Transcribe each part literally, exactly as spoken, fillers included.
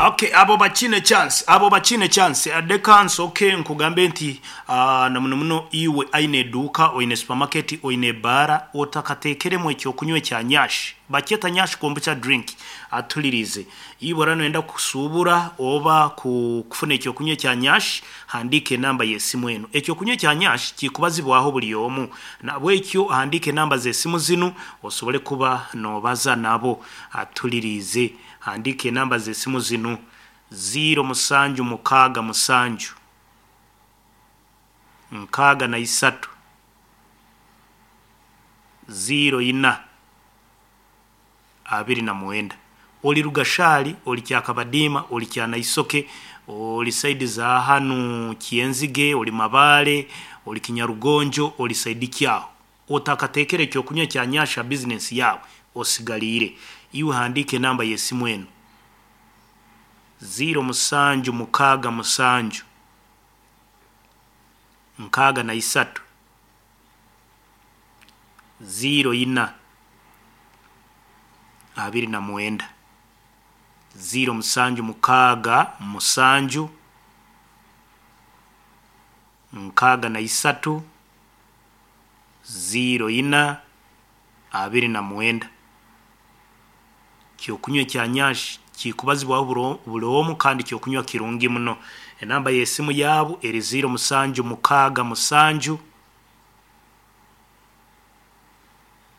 Okay, abo bakine chance, abo bakine chance. Adeka nsoke nkugambe nti uh, na muno muno iwe aine eduka, oine supermarket, oine bara, otakatekeremu ekyokunywa ekya nyash, bakyeta nyash kombucha drink. Atulirize, iwe rano enda kusubura oba ku- kufuna ekyokunywa ekya nyash, handika enamba y'esimu eno. Ekyokunywa ekya nyash kikubazibwaho buli omu, nabwekyo handika enamba z'esimu zinu osobole kuba nobaza nabo. Atulirize, handika enamba z'esimu zinu: ziro musanju mukaaga musanju nkaaga na isatu ziro ina abiri na mwenda. Oli Rugashali, oli Kyakabadiima, oli Kyanaisoke, oli side za hanu Kyenzige, oli Mabale, oli Kinyarugonjo, oli side kyaho, otakatekere ekyokunywa kya nyasha business yawe osigaliire. Iwe handika enamba y'esimu eno: ziro musanju mukaaga musanju nkaaga na isatu ziro ina abiri na mwenda, ziro musanju mukaaga musanju nkaaga na isatu ziro ina abiri na mwenda. Kyokunywa ekya nyash kikubazibwaho buro- buli omu, kandi kyokunywa kirungi muno. Enamba y'esimu yabu eri ziro musanju mukaaga musanju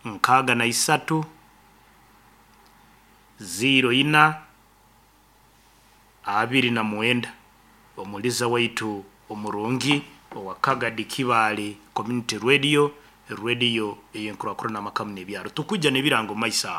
nkaaga na isatu ziro ina abiri na mwenda. Omuliza waitu omurungi owa Kagadi Kibaale Community Radio, radio eyenkurakurana amakamu n'ebyaro. Tukujja n'ebirango mumaiso aho.